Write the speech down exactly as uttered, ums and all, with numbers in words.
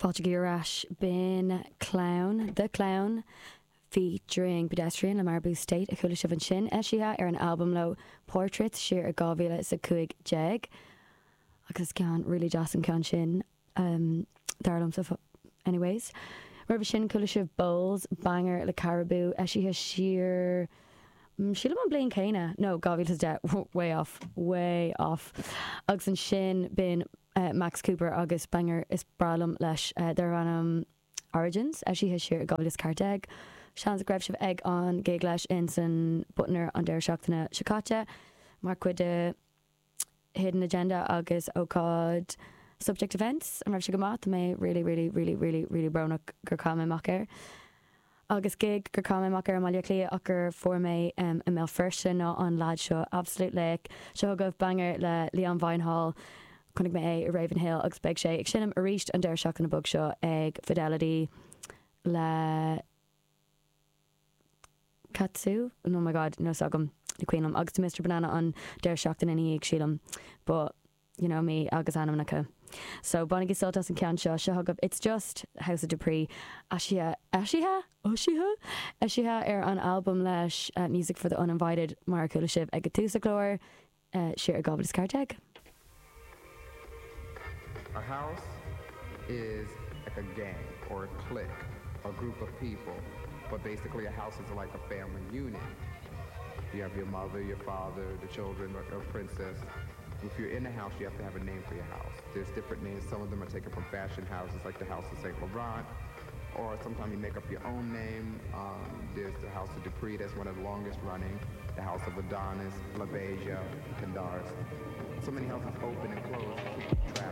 Fáilte ar ais b'in Clown, The Clown, featuring Pedestrian le Maribou State a chuala sibh ansin eisithe ar an albam leo Portraits siar i dhá mhíle is a cúig déag. Agus is ceann really deas an ceann sin um, dar liomsa anyways. Roimhe sin chuala sibh Bowls banger le Caribou eisithe siar mm, sílim an bliain céanna no dhá mhíle is a deich way off way off agus ansin b'in uh, Max Cooper agus banger is breá liom leis uh, darb ainm Origins eisithe siar dhá mhíle is ceathair déag. Seans go raibh sibh ag an gig leis in san Butner an deireadh seachtaine seo caite mar chuid de Hidden Agenda agus ócáid Subject Events an raibh sé go maith mé really really really really really brónach gur chaill mé amach air. Agus gig gur chaill mé amach ar Bhaile Átha Cliath ach gur fuair mé um, i mBéal Feirste ná an lad seo absolute laoch seo agaibh banger le Leon Vynehall chonaic mé é i Ravenhill agus beidh sé ag seinm arís an deireadh seachtaine beag seo ag Fidelity le Katsu oh my god no agam ní cuimhin liom agus Mr Banana an deireadh seachtaine ina dhiaidh sílim but you know me agus ainmneacha. So bainigí sult as an ceann seo seo agaibh It's Just House of Dupree eisithe eisithe eisithe eisithe ar an albam leis uh, Music for the Uninvited mar a chuala sibh ag tús an chláir uh, siar i dhá mhíle is ceathair déag. A house is like a gang or a clique, a group of people, but basically a house is like a family unit. You have your mother, your father, the children, or, or princess. If you're in a house, you have to have a name for your house. There's different names. Some of them are taken from fashion houses, like the House of Saint Laurent, or sometimes you make up your own name. Um, there's the House of Dupree, that's one of the longest running. The House of Adonis, LaBeija, Candaris. So many houses open and close, you can't keep track.